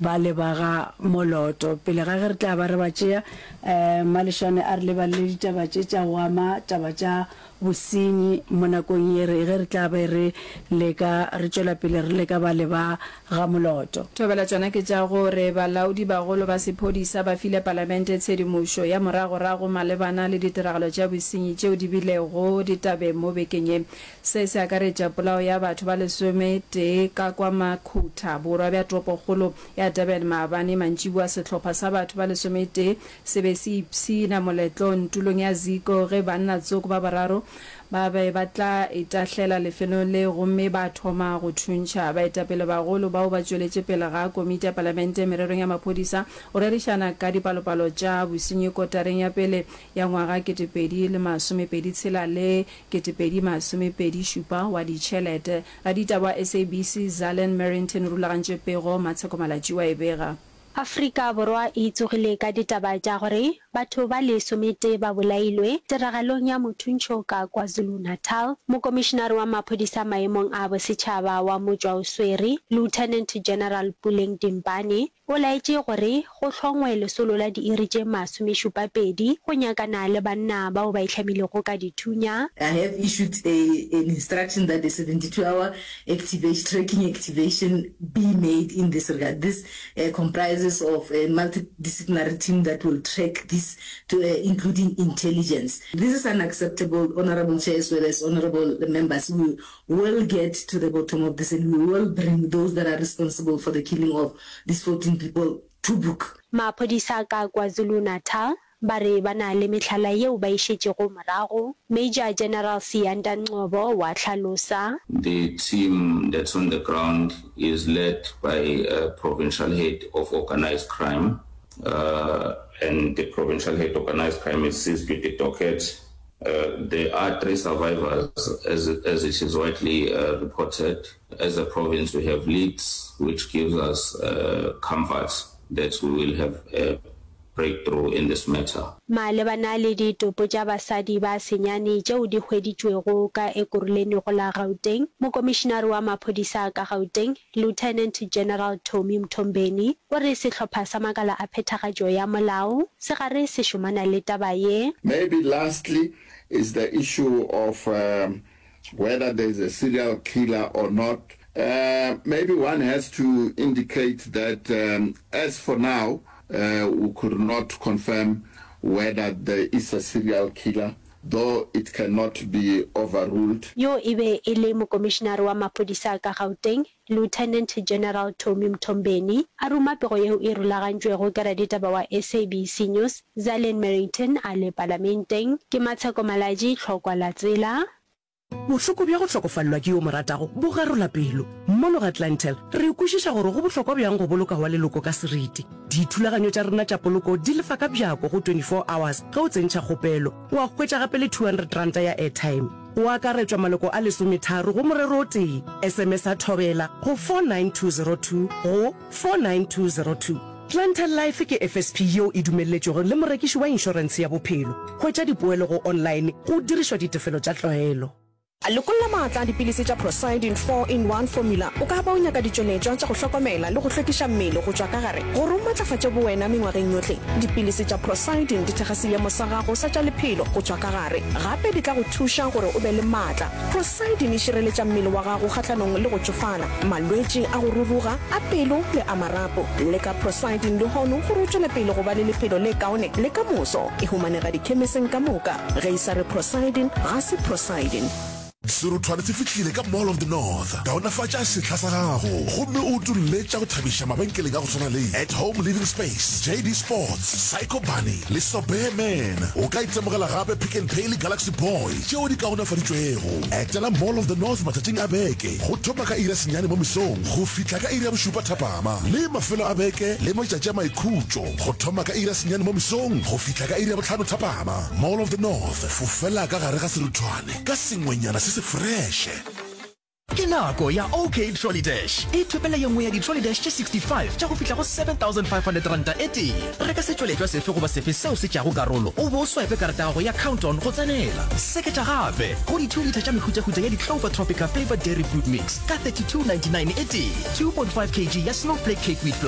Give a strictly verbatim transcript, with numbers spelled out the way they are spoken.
ba leba ga Moloto. Pele ga ge re tla ba re ba tšea, um Malešwane a re lebalele ditaba tše tša go ama taba tša bosenyi mo nakong ye re ge re tla be re leka re tšwela pele re leka ba leba ga Moloto. Thobela tšona ke tša gore balaodi bagolo ba sephodisa ba file palamente tshedimošo ya moragorago malebana le ditiragalo tša bosenyi tšeo di bilego ditabeng mo bekeng ye. Se se akaretša polao ya batho ba lesome tee ka kwa Makhutha, borwa bja toropokgolo ya Durban maabane mantšiboa. Sehlopha sa batho ba lesome tee se be se ipshina moletlong tulong ya Ziko ge banna tsoko ba bararo ba be ba tla itahlela lefelong le gomme ba thoma go thuntšha. Baetapele bagolo bao ba tšweletše pele ga komiti ya palamente mererong ya maphodisa go rerišana ka dipalopalo tša bosenyi kotareng ya pele ya ngwaga ketepedi le masomepedi tshela le ketepedi masomepedi šupa wa ditšhelete. Raditaba wa S A B C Zalen Merrington o rulagantše pego, Matsheko Malatji wa e bega. Afrika Borwa e tsogile ka ditaba tša gore batho ba lesometee ba bolailwe tiragalong ya mothuntšho ka KwaZulu-Natal. Mokomišenare wa maphodisa maemong a bosetšhaba wa motšwaoswere, Lieutenant General Puleng Dimpane, o laetše gore go hlongwe lesolo la diiri tše masomešupapedi go nyakana le banna bao ba itlhamilego ka dithunya. I have issued a, an instruction that a seventy-two hour activation, tracking activation be made in this regard. This uh, comprises of a multidisciplinary team that will track this, to, uh, including intelligence. This is unacceptable, Honorable Chair, as well as honorable members. We will get to the bottom of this and we will bring those that are responsible for the killing of these fourteen people to book. Maphodisa ka KwaZulu-Natal ba re ba na le mehlala yeo ba e šetšego morago. Major General Siyanda Ngcobo wa hlalosa. The team that's on the ground is led by a provincial head of organized crime, uh, and the provincial head organized crime is seized with the docket. Uh, there are three survivors, as, as it is widely uh, reported. As a province, we have leads, which gives us uh, comfort that we will have a breakthrough in this matter. Malebana le ditopo tša basadi ba senyane tšeo di hweditšwego ka Ekurhuleni go la Gauteng, Mokomišenare wa maphodisa ka Gauteng, Lieutenant General Tommy Mthombeni, o re sehlopha sa makala a phethagatšo ya molao se gare se šomana le taba ye. Maybe lastly is the issue of um, whether there's a serial killer or not. Uh, maybe one has to indicate that um, as for now, uh, we could not confirm whether there is a serial killer, though it cannot be overruled. Yo e be e le Mokomišenare wa maphodisa ka Gauteng, Lieutenant General Tommy Mthombeni, a ruma pego yeo e rulagantšwego ke raditaba wa S A B C News, Zalen Merrington a le palamenteng. Ke Matsheko Malatji, Tlhokwa la Tsela. Bohloko bja go hlokofalelwa ke yo mo ratago bo garola pelo. Mono ga Clientele re kwešiša gore go bohlokwa bjang go boloka wa leloko ka seriti. Dithulaganyo tša rena tša poloko di lefa ka bjako go twenty-four hours ge o tsentšha kgopelo, wa hwetša gape le two hundred ranta ya airtime. Go akaretšwa maloko a lesometharo go morero o tee. S M S a thobela go four nine two zero two go four nine two zero two. Clientele Life ke F S P yeo e dumelletšwego le morekiši wa inšorentshe ya bophelo. Hwetša dipoelo go online go dirišwa ditefelo tša tlwaelo. Lokolla maatla a dipilisi tša Prosidin four in one formula. O ka ba o nyaka ditšweletšwa tša go hlokomela le go hlwekiša mmele go tšwa ka gare gore o matlafatše bowena mengwageng yohle. Dipilisi tša Prosidin di thekga seemo sa gago sa tša lephelo go tšwa ka gare, gape di tla go thuša gore o be le maatla. Prosidin e šireletša mmele wa gago kgahlanong le go tšofala, malwetši a go ruruga, a pelo le a marapo. Leka Prosidin lehono gore o tšwele pele go ba le lephelo le kaone le ka moso. E humanega dikhemiseng ka moka. Ge e sa re Prosidin, ga se Prosidin. Seruthwane se fihlile ka Mall of the North. Kaonafatša sehla sa gago gomme o utolle tša go thabiša mabenkeleng a go swana le At Home Living Space, J D Sports, Psycho Bunny le Sobear Man. O ka itemogela gape Pick n Pay le Galaxy Boy tšeo di kaonafaditšwego. Etela Mall of the North matšatšing a beke go thoma ka iri ya senyane mo mesong go fihla ka iri ya bošupa thapama, le mafelo a beke le matšatši a maikhutšo go thoma ka iri ya senyane mo mesong go fihla ka iri ya bohlano thapama. Mall of the North, fofela ka gare ga seruthwane ka sengwenyana se se freše. Ke nako ya OK Trolley Dash. Ithopela ye nngwe ya di-Trolley Dash tše sixty-five tša go fihla go seven thousand five hundred ranta e tee. Reka setšweletšwa sefe goba sefe seo se tšago karolo, o be o swipe karata ya gago ya Count-On go tsenela. Seketša gape go di two litre tša mehutahuta ya di-Clover Tropica Flavored Dairy Fruit Mix ka thirty-two ninety-nine e tee, two point five kilograms ya Snowflake Cake Wheat Flour.